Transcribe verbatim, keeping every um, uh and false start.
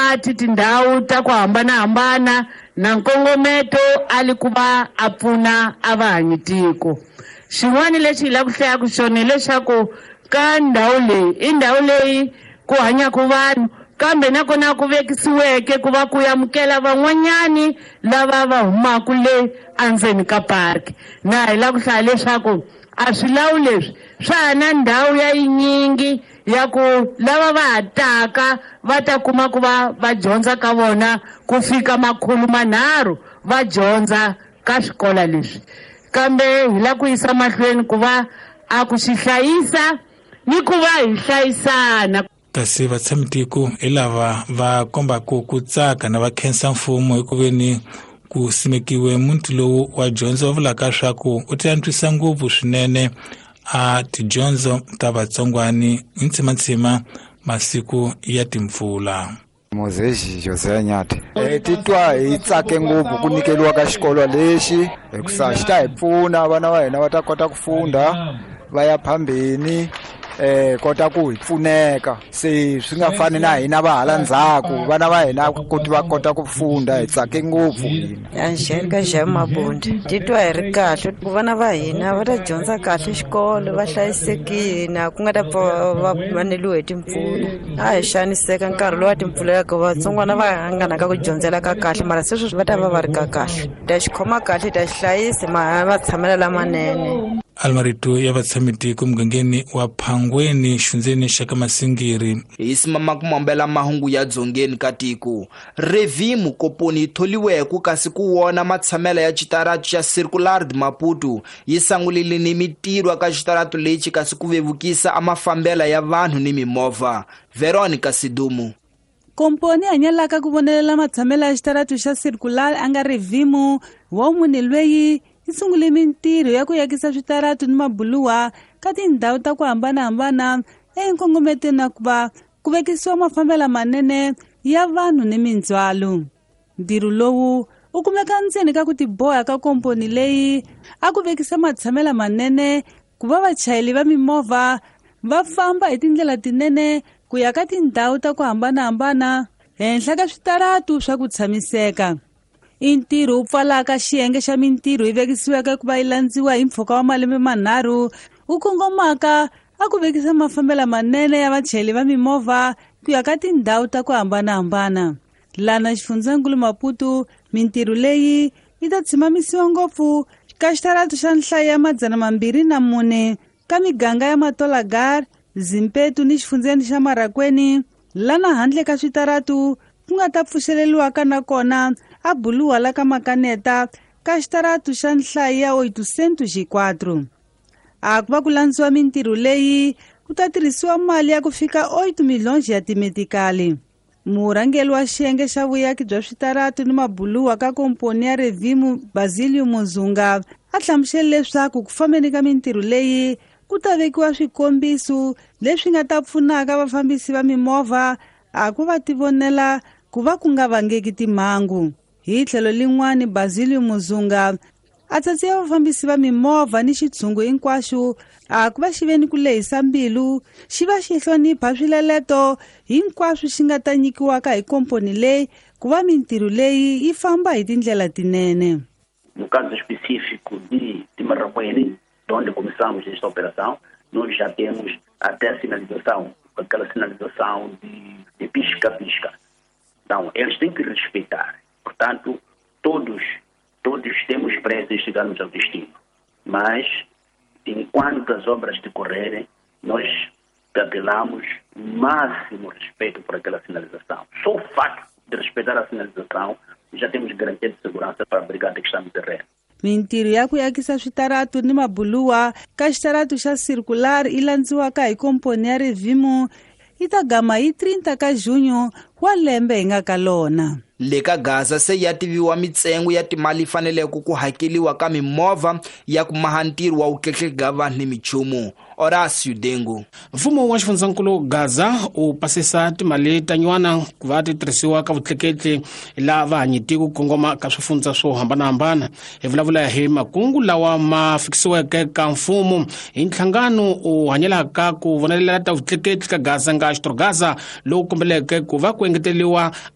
mati tindhawu ta ku hambanahambana na nkongometo a li ku va a pfuna a vahanyi tiko. Xin'wana lexi hi lava ku hlayaku xona hileswaku ka ndhawu leyi i ndhawu leyi ku hanyaka vanhu, kambe nakona ku vekisiweke ku va ku amukela van'wanyani lava va humaka le endzeni ka park. Na hi lava ku hlaya leswaku a swilawu leswi swa ha na ndhawu ya yinyingi ya ku lava va ha taka va ta kuma ku va va dyondza ka vona ku fika makhulu manharhu va dyondza ka swikolo leswi. Kambe hi lava ku yisa mahlweni ku va a ku xi hlayisa ni ku va hi hlayisana. Kasi vatshamitiko hi lava va kombaka ku tsaka na va khensa mfumo hi ku veni ku simekiwe muti lowu wa dyondzo, va vulaka swa ku u ti antswisa ngopfu swinene a tidyondzo ta vatsongwani hi ntsimantsima masiku ya timpfula. Mozezi José Nyathi. Eh titwa hi tsake ngopfu ku nyikeliwa ka xikolo lexi hikusa xi ta hi pfuna vana va hina va ta kota ku funda va ya phambeni, eh kota ku hi pfuneka, se swi nga fani na hina va hala ndzhaku, vana va hina ku va kota ku funda. Hi tsake ngopfu hina. Angelica Jean Mabundi. Titwa hi ri kahle ku vana va hina va ta dyondza kahle xikolo, va hlayisekile, ku nga ta pfa va vaneliwe hi timpfula. A hi xaniseka nkarhi lowu wa timpfula ya ku vatsongwana va nga na ka ku dyondzela ka kahle, mara se sweswi va ta va va ri ka kahle. Ta xi khoma kahle, ta xi hlayisa, ma va tshamela lamanene. Almarito ya vatshamitiko mugangeni wa Phangweni, xundzeni xa ka Masingiri. Hi simama ku mambela mahungu ya dzongeni ka tiko. Revimo komponi yi tholiweke kasi ku wona matshamela ya xitaratu xa Circular de Maputo yi sangulile ni mitirho ka xitaratu lexi kasi ku vevukisa a mafambela ya vanhu ni mimovha. Veronica Sidumu. Komponi hanyalaka ku vonelela matshamela ya xitaratu xa Circular a nga Revimo wa munhu lweyi yi sungule mintirho ya ku yakisa switaratu ni mabuluwa ka tindhawu ta ku hambanahambana enkongometweni na ku va ku vekisiwa mafambelo manene ya vanhu ni mindzhwalo. Ntirho lowu u kumeka ndzeni ka ku tiboha ka komponi leyi a ku vekisa matshamela manene ku va vachayeri va mimovha va famba hi tindlela tinene ku ya ka tindhawu ta ku hambanahambana henhla ka switaratu swa ku tshamiseka. I ntirho wu pfalaka xiyenge xa mintirho yi vekisiweke ku va yi landziwa hi mpfhuka wa malembe manharhu wu kongomaka a ku vekisa mafambelo manene ya vachayeri va mimovha ku ya ka tindhawu ta ku hambanahambana. Lana xifundzankulu Maputo, mintirho leyi yi ta tshimamisiwa ngopfu ka xitaratu xa nhlayo ya madzana mambirhi na mune ka miganga ya Matolagar, Zimpetu ni xifundzeni xa Marakweni, lana handle ka switaratu ku nga ta pfuxeleriwaka nakona a buluwa la ka Makaneta ka xitaratu xa nhlayo ya oitocentos e quatro. A ku va ku landziwa mintirho leyi ku ta tirhisiwa mali ya ku fika oito milhões ya timetikali. Murhangeri wa xiyenge xa vuyaki bya switaratu ni mabuluwa ka komponi ya Revimo Basilio Muzunga a hlamusele leswaku ku fambeni ka mintirho leyi ku ta vekiwa swikombiso leswi nga ta pfunaka vafambisi va mimovha a ku va tivonela ku va ku nga vangeki timhangu. Hi tlhelo lin'wani, Basilio Muzunga a tsatsiwa vafambisi va mimovha ni xitshungu hinkwaxo a ku va xi ve ni ku lehisa mbilu, xi va xi hlonipha swileleto hinkwaswo xi nga ta nyikiwaka hi komponi leyi ku va mintirho leyi yi famba hi tindlela tinene. No caso específico de, de Marracuene, onde começamos esta operação, nós já temos até a sinalização, aquela sinalização de, de pisca-pisca. Então, eles têm que respeitar. Portanto, todos, todos temos pressa em chegarmos ao destino. Mas, enquanto as obras decorrerem, nós apelamos o máximo respeito por aquela sinalização. Só o facto de respeitar a sinalização, já temos garantia de segurança para a brigada que está no terreno. Mintirho ya ku yakisa switaratu ni mabuluwa ka xitaratu xa Circular yi landziwaka hi komponi ya Revimo yi ta gama hi trinta ka junho wa lembe hi nga ka lona. Le ka Gaza se ya tiviwa mitsengo ya timali faneleke ku hakeliwa ka mimovha ya ku maha ntirho wa vutleketli vanhu ni michumu. Horacio Dengo. Mfumo wa xifundzankulu Gaza u pasisa timali ta nyuwana ku va ti tirhisiwa ka vutleketli la vahanyi ku kongoma ka swifundza swo hambanahambana. Hi vulavula hi makungu lawa ma fikisiweke ka mfumo hi nhlangano u hanyelaka ku vonelela ta vutleketli ka Gaza nga Xitrogaza lowu kombeleke ku va ku engeteriwa